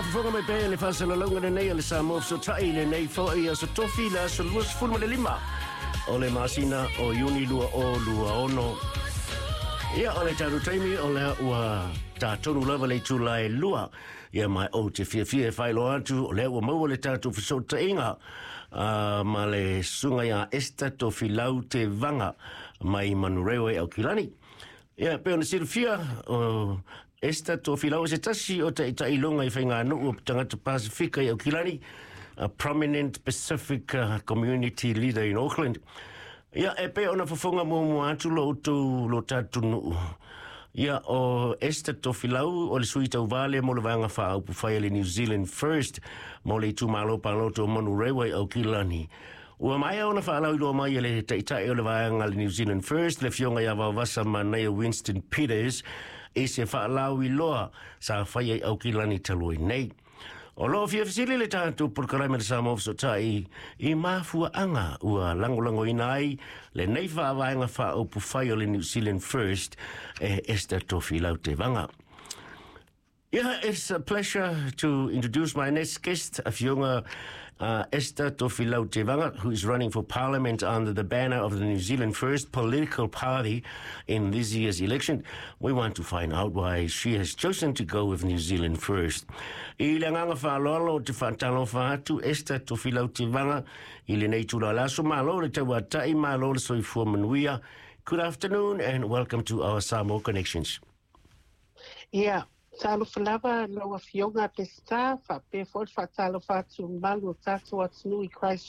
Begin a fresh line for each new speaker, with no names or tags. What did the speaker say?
Faafofoga mai pea i le faasalalauga lenei a le Samoa Fesootai i lenei foi aso Tofi, le aso 25 o le masina o Iuni 2026. Ia, o le tatou taimi o lea ua tatonu lava le itula e 2. Ia, ma ou te fiafia e faailoa atu o lea ua maua le tatou fesootaiga ma le susuga ia Esther Tofilau Tevaga mai Manurewa i Aukilani. Ia, pei ona silafia, o Esther Tofilau o se tasi o taitailoga i faiganuu o tagata Pasifika i Aukilani, a prominent Pacific community leader in Auckland. Ia, e pei ona fofoga muamua atu lo outou lo tatou nuu. Ia, o Esther Tofilau o le sui tauva lea mo le Vaega Faaupufai a le New Zealand First mo le itumalo palota o Manurewa i Aukilani. Ua maea ona faalauiloa mai e le taitai o le vaega a le New Zealand First, le afioga ia Vaovasa Manaia Winston Peters, i se faalauiloa sa faia i Aukilani talu ai nei. O lo o fia fesili le tatou polokalame le Samoa Fesootai i mafuaaga ua lagolagoina ai lenei faavaega faaupufai o le New Zealand First e Esther Tofilau Tevaga. Yeah, it's a pleasure to introduce my next guest, Afioga Esther Tofilau Tevaga, who is running for Parliament under the banner of the New Zealand First political party in this year's election. We want to find out why she has chosen to go with New Zealand First. I le agaga faaaloalo ou te faatalofa atu Esther Tofilau Tevaga i lenei itula o le aso. Malo le tauata'i, malo le soifua manuia. Good afternoon and welcome to our Samoa Connections.
Ia, talofa lava lau Afioga Peseta, faapea foi le faatalofa atu mamalu o tatou atunuu i Christchurch.